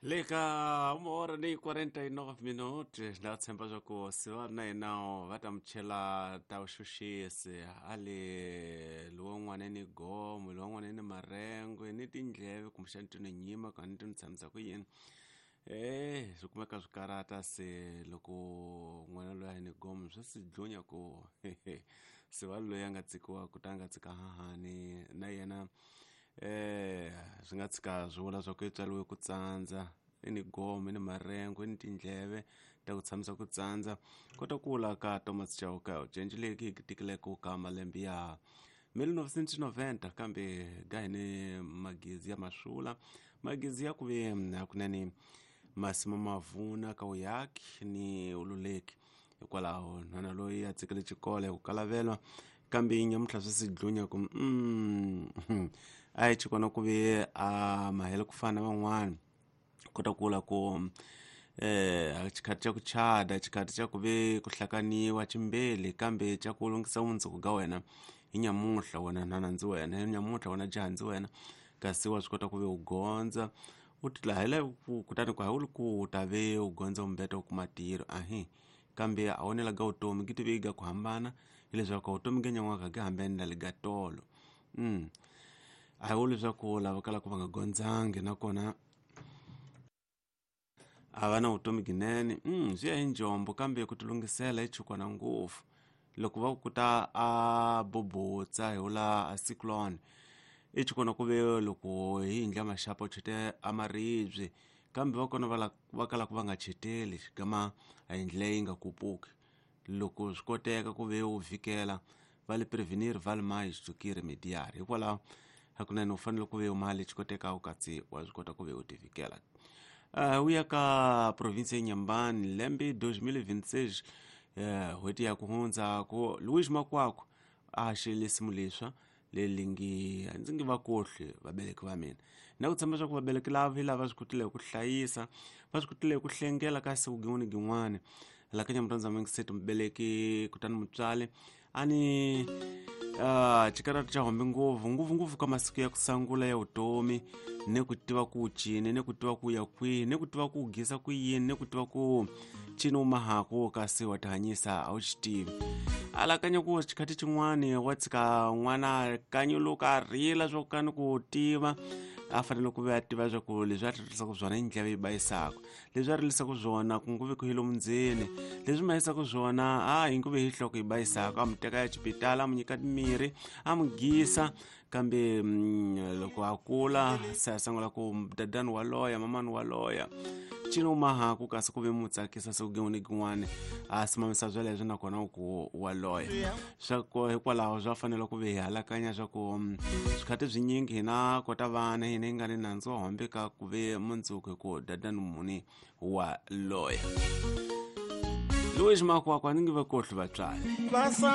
Le ka uma hora ni 49 minutos na tshemba swa ku siva na yena va ta mi chela ta vuxuxisi ale lowun'wana ni gomo lowun'wana ni marengwe ni tindleve kumbexani ti ni nyima ka ni ti ni tshamisa ku yini e swi kumeka swi karata se loko n'wana loyi a ni gomo swi si dlunya ku siva loyi a nga tsikiwa ku ta nga tsika hahani na yena swi nga tshika swi vula swa ku i tswariwe ku tsandza i ni gome i ni marengo i ni tindleve ta ku tshamisa ku tsandza kota ku vula ka Thomas Chauke u cencile hi tikileko ka malembe ya 1990 kambe ga hini magezi ya maswula magezi ya ku ve hakunene masimu mavuna ka uyaki ni ululeki hikwalaho nhwana loyi a tsikile xikolo hi ku kalavelwa kambe nyamutlha swi si dlunya ku a yi chikona ku ve a mahele ku fana na van'wana kota ku vula ku xikhati xa ku chada xikhati xa ku ve ku hlakaniwa chimbeli kambe xa ku lunghisa vumundzuku ga wena hi nyamuhla wena nhwana ndzi wena hi nyamuhla wena jaha ndzi wena kasi wa swi kota ku ve u gondza u tilahela kutani ku hawuli ku u ta ve u gondza umbeta u kuma ntirho ahi kambe a wonela ga vutomi gi tive ga ku hambana hileswaku vutomi ga nyan'waka ga hambani na le ga tolo a hi vuli leswaku lava kalaka va nga gondzangi nakona a va na vutomi ginene swi ya hi njombo kambe ku tilunghisela i chukwana ngopfu loko va ku ta a bobotsa hi wula a cyclone i chukwana ku ve loko hi yindla maxapa u chete a maribye kambe va kona va kalaka va nga cheteli xigama a yindlu leyi nga kupuki loko swi koteka ku ve u vhikela va le prevenir vale mais do que remediar hikwalaho hakunene u fanele ku ve mali xi koteka u katsi wa swi kota ku ve u tivikela u ya ka province ya Nyambani lembe 2026 n'hweti ya ku hundza ku Louis Makwakwa a xele simu leswa leyi ngi a ndzi nge va kohli vabereki va mina na ku tshemba swa ku vabereki lava hi lava swi kotile ku hlayisa va swi kotile ku hlengela ka siku gin'wana gin'wana la ka nyamurhandza mingiseti mubeleki kutani mutswali a ni xikarata xa hombe ngopfu ngopfungopfu ka masiku ya ku sangula ya vutomi ni ku tiva ku cini ni ku tiva ku ya kwihi ni ku tiva ku gisa ku yini ni ku tiva ku cini u mahaku kasi wa tihanyisa a wu xi tivi alakanya ku xikhathi xin'wani wa tshika n'wana kanyuluka a rila swa ku ka ni ku tiva a fanele ku ve a tiva swa ku leswi a rilisaka swona i ndleve yi bayisaka leswi a rilisaka swona ku nguve ku hi lomu ndzeni leswi ma yisaka swona a hi nguve hi nhloko yi bayisaka a mu teka ya xibitala a mu nyika mirhi a mu gisa kambe loko a kula se a sungula ku dadani wa loya mamani wa loya cini u mahaku kasi ku ve mu tsakisa siku gin'wana gin'wana a simamisa sweleswo nakona u ku wa loya swa ku hikwalaho swa fanele ku ve hi halakanya swa ku swikhathi swinyingi hina kota vana hina hi nga ni nandzu wa hombe ka ku ve mundzuku hi ku dadani muni wa loya Louis Makwakwa ni nge va kohli vatswari.